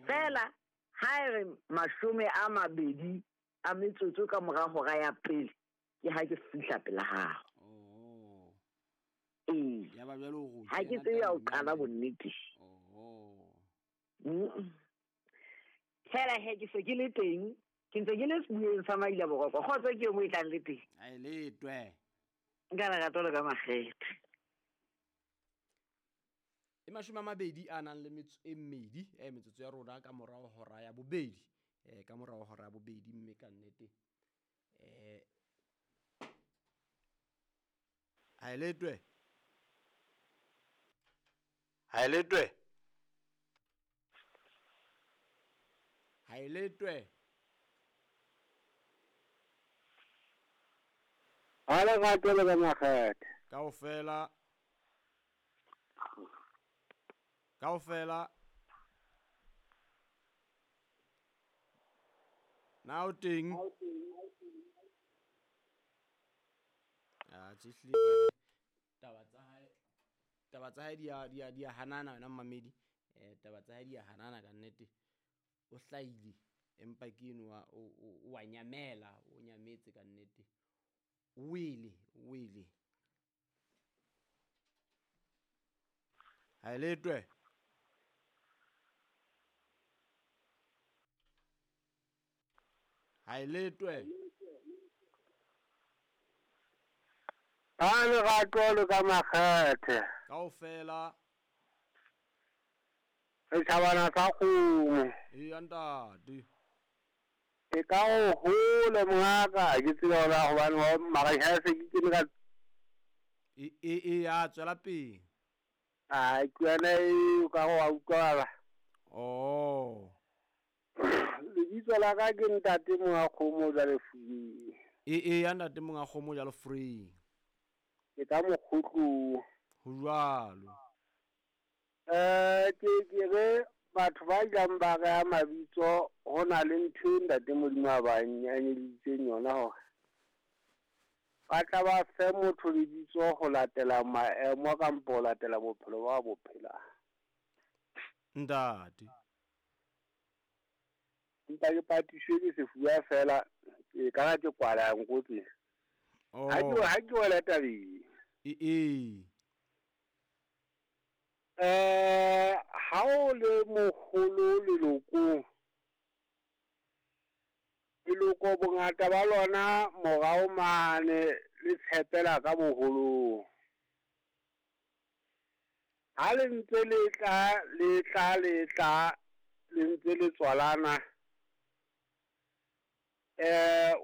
Fela ha e re 20 ka mora hora ya pele ke ha ke fihla pela hao. Oh. Ee. Ya ba jwale o Ha ke tsebe ya ho qala bonnete. Oh. Fela he ke se ke le teng, ke ntse ke le sebueng sa Maila Boroko. Kgotso ke eo mo e tlang le teng. A e letwe. Nka lerato le ka makgethe. E 28 metsotso ya rona ka morao hora ya bobedi. Ka morao hora ya bobedi mme ka nnete. Ha e letwe. Ha e letwe. Ha e letwe. Ha lerato le ka makgethe. Kaofela. Kaofela. Na o teng? Ah, tšehlile. Taba tsa hae di a hanana wena mmamedi. Taba tsa hae di a hanana ka nnete. O hlahile empa ke enwa o wa nyamela, o nyametse ka nnete. O wele, o wele. Ha e letwe. Ha e letwe. Ha lerato le ka makgethe. Kaofela. Re tjhabana sa kgomo. Eya ntate. E ka o hole mongaka, ke tsebe hore hobane mara ha se ke kene ka E ya tswela pele. A ke yona e ka go wa utlwala. Oh. Lebitso la ka ke ntate monga kgomo jwale Free. E ya ntate monga kgomo jwale Free. Ke ka mokgotlo. Ho jwalo. Ke re batho ba jang ba re mabitso ho na le ntho e ntate Modimo a ba nyanyeditseng yona hore ba tla ba fe motho lebitso ho latela maemo kampo ho latela bophelo ba bo phelang. Ntate. Empa ke patiswe ke sefuba fela, ke ka ke kwala nkotsi. Oh. Ha ke wela tabeng. E. Ha o le moholo lelokong, leloko bongata ba lona morao mane le tshepela ka boholong. Ha le ntse le tla, le tla, le tla, le ntse le tswalana,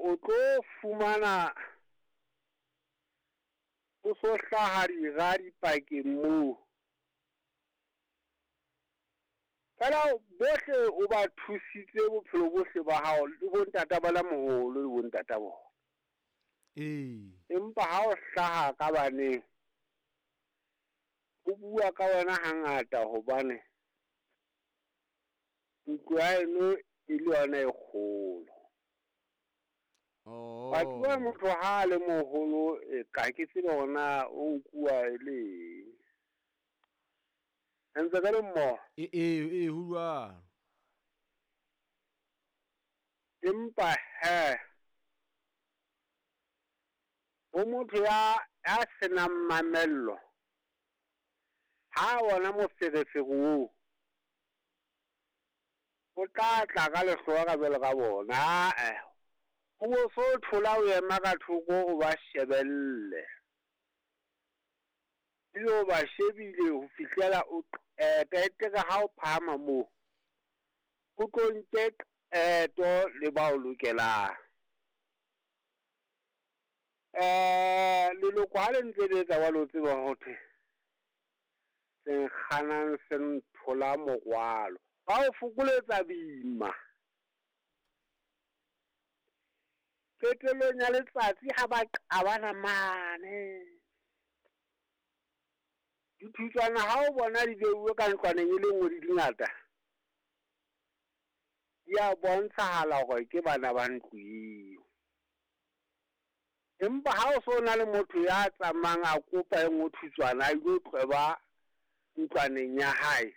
o tlo fumana o so hlaha dira dipakeng moo. Fela bohle o ba thusitse bophelo bohle ba hao, le bontata ba la moholo le bontata bona. Ee. Empa ha o hlaha ka baneng, o bua ka wena hangata hobane ntlo ya eno e le yona e kgolo. Oh. Batho ba motho ha le moholo e ka ke tsebe hore na o nkuwa e le eng. Ntse ka le mmoho. E ho jwalo. Empa he ho motho ya senang mamello, ha wona moferefere oo o tla tla ka lehloa ka jwalo ka bona. O bo so thola o ema ka thoko o ba shebelle. Ebile o ba shebile ho fihlela o qeta ka ha o phahama moo, o tlo nke qeto le ba o lokelang. Leloko ha le ntse le etsa jwalo, o tseba ho thwe se nkganang se nthola morwalo. Ba o fokoletsa boima. Qetellong ya letsatsi ha ba qabana mane, dithutswana ha o bona di beuwe ka ntlwaneng e le nngwe di dingata, di a bontshahala hore ke bana ba ntlo eo. Empa ha o so na le motho ya tsamayang a kopa e nngwe thutswana a ilo tlweba ntlwaneng ya hae,